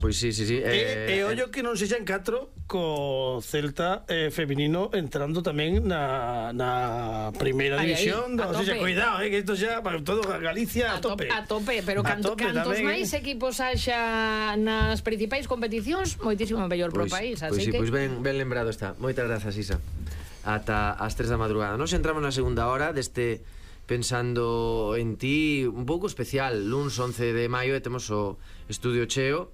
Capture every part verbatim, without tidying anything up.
Pois sí, sí, sí. E, e ollo que non sexan catro co Celta eh, feminino entrando tamén na, na primeira Aí, división. aí, a O sea, tope. cuidado, eh, que isto xa para todo Galicia a, A tope, tope. a tope, pero A canto, tope cantos tamén, máis eh. equipos haxa nas principais competicións, moitísimo mellor pro Pois, país, pois así sí, que pois ben, ben lembrado está. Moitas grazas, Isa. Ata as tres da madrugada. Nos entramos na segunda hora deste Pensando en Ti un pouco especial. Luns once de maio e temos o estudio cheo.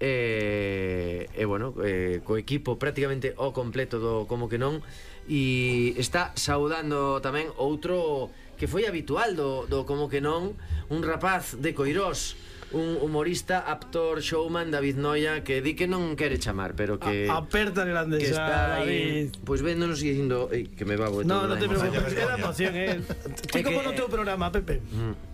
E, e bueno, eh, co equipo prácticamente ao completo do Como que non. E está saudando tamén outro que foi habitual do, do Como que non, un rapaz de Coirós, un humorista, actor, showman, David Noia, que di que non quere chamar, pero que A, aperta grande que está esa, aí, David. pois véndonos e dicindo, ei, que me babo de No, todo non da te emoción. preocupes, é da emoción, eh. Ti É como que- no teu programa, Pepe? Mm.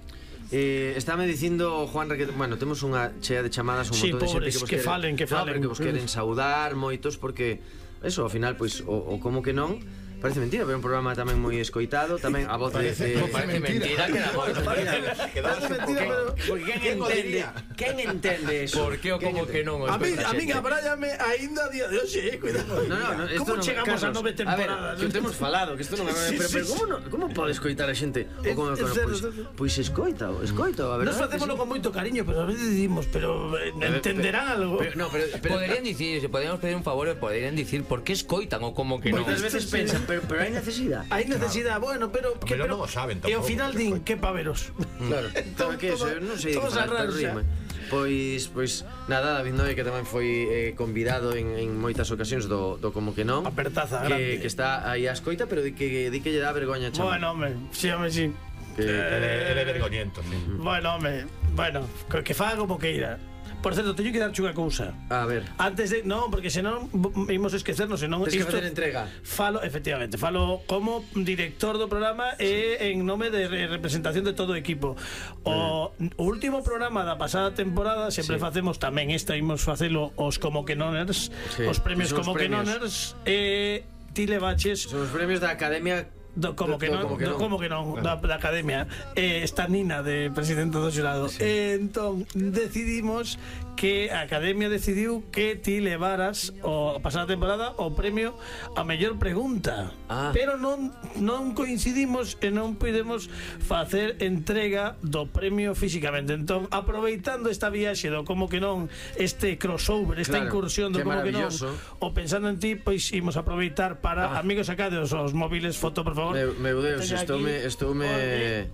Eh, estáme dicindo Juan que, bueno, temos unha chea de chamadas, un Sí, montón de xente pobres, que vos que quere, falen, que no, falen. pero que vos queren saudar moitos porque eso, ao final, pois, o, o Como que non parece mentira, pero é un programa tamén moi escoitado, tamén a voz de... de... Como parece mentira, que era moi Parece mentira, pero... Porque quen entende, quen entende eso? Por que o Quen como que entende? non? A mí, a mí abrállame aínda a día de hoxe, eh, cuidado. No, no, no, esto Como non, chegamos Carlos, a nove temporadas? A ver, que temos falado, que isto non é, Sí, pero, sí, pero sí. como non, como pode escoitar a xente? É- O como, é como, certo, pois, certo. pois escoita, escoita, a verdade. Nos facémoslo con moito cariño, pero a veces decimos, pero eh, entenderán algo. Pero, no, pero, pero Poderían dicir, se podríamos pedir un favor, poderían dicir por que escoitan o como que non. moitas veces pensan, pero, pero hai necesidade. Hai necesidade, bueno, pero que Pero pero non o saben e ao tampouco, final que din foi. que pa veros. Claro, Todo- todo, que eso, todo- non sei de que todos falar, pero arranxa. rima. Pois, pois, nada, David Noia, que tamén foi eh, convidado en, en moitas ocasións do, do Como que non, Apertaza que, grande. que está aí a escoita, pero di que, di que lle dá vergoña chamar. Bueno, hombre, sí, hombre, sí. que, Ele ele é vergoñento, sí. Bueno, hombre, bueno, que, que faga como queira. Por certo, teño que darche unha cousa. a ver, Antes de, non, porque senón v- imos esquecernos, senón tens que isto- facer entrega. Falo, efectivamente, falo como director do programa e en nome de re- representación de todo o equipo. O, o último programa da pasada temporada sempre Sí. facemos tamén esta, imos facelo os Como que Noners, Sí, os premios son os Como que premios. Noners e ti levaches Son os premios da Academia do como do- que do non, Como que do non. como que non da, da academia eh, esta Nina de presidente do xurado. Eh, entón decidimos que a academia decidiu que ti levaras o a pasada temporada o premio a mellor pregunta. Ah. Pero non non coincidimos e non podemos facer entrega do premio físicamente. Entón, aproveitando esta viaxe do Como que non, este crossover, esta Claro, incursión do que Como que non, maravilloso. o pensando en ti, pois imos aproveitar para Ah. amigos sacados os móviles, foto, por favor. Meu, meu Deus, Teño estoume, aquí. estoume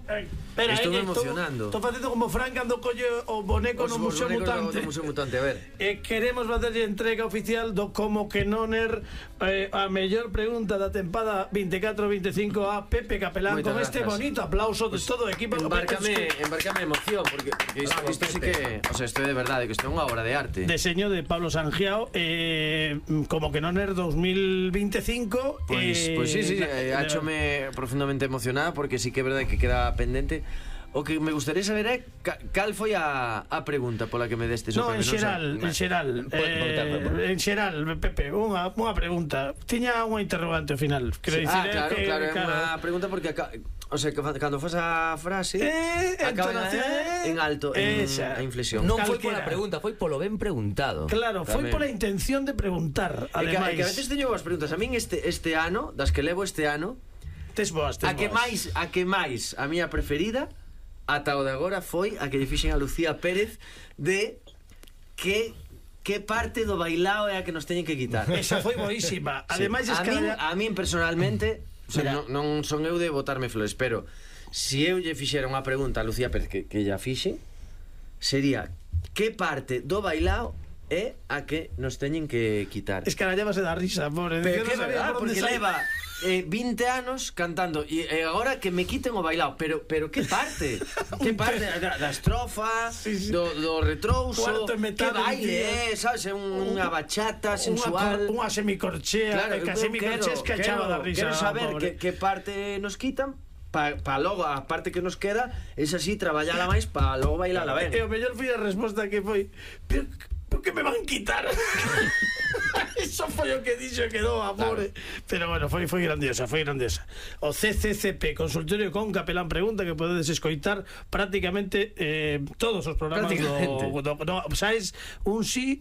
Ai, espera, Estoume eh, emocionando. Estou facendo como Fran cando colle o boneco no Museo Mutante. Do Museo Mutante, a ver. E queremos facerlle entrega oficial do Como que Noner, eh, a mellor pregunta da tempada veinticuatro veinticinco a Pepe Capelán. Moitas Con este grazas. bonito aplauso de todo o equipo. Embárcame, embárcame emoción, porque porque isto, Bravo, isto sí Pepe. que, o sea, isto é de verdade, que isto é unha obra de arte. Deseño de Pablo Sangiao, eh, Como que Noner dos mil veinticinco. Pois, eh, pois sí, sí, de- eh, de- áchome profundamente emocionada porque sí que é verdade que queda pendente. O que me gustaría saber é ca, cal foi a, a pregunta pola que me destes o No, en premio, xeral, sei. en xeral, Pode preguntar, pode eh, preguntar. en xeral, Pepe, unha, unha pregunta. Tiña unha interrogante ao final. Quero Sí, dicir, ah, eh, claro, que, claro, é unha pregunta porque aca, o sea, que fa- cando fas a frase Eh, acaba entonación, eh, en alto, en esa. a inflexión. Non foi Calquera. pola pregunta, foi polo ben preguntado. Claro, foi Tamén. pola intención de preguntar. É que, é Ademais, que a veces teño boas preguntas. A min este este ano, das que levo este ano, tes boas, tes a que boas. máis, a que máis, a miña preferida ata o de agora foi a que lle fixen a Lucía Pérez de que que parte do bailao é a que nos teñen que quitar. Esa foi boísima. Ademais, es a, que min, haya- a min personalmente, o sea, Mira. non, non son eu de botarme flores, pero si eu lle fixera unha pregunta a Lucía Pérez que, que lla fixe, sería que parte do bailao é a que nos teñen que quitar. escarallábase da risa, pobre. Pero que que non sabía verdad, por onde porque sair. leva eh, vinte anos cantando e eh, agora que me quiten o bailao, pero pero que parte? que parte da, da estrofa, Sí, sí. do, do retrouso, Cuarto e que metade, baile, eh, sabes, é un, unha bachata sensual. Unha, unha semicorchea, Claro, que a eu semicorchea quero, escachaba da quero, risa. quero saber pobre. que, que parte nos quitan para pa logo a parte que nos queda es así traballala máis para logo bailala ben. E o mellor foi a resposta que foi, pero, pero que me van quitar? Eso foi o que dixo e quedou a pobre. Pero bueno, foi foi grandiosa, foi grandiosa. O C C C P, Consultorio con Capelán Pregunta, que podedes escoitar prácticamente eh, todos os programas do, Prácticamente. do, do, sabes, un sí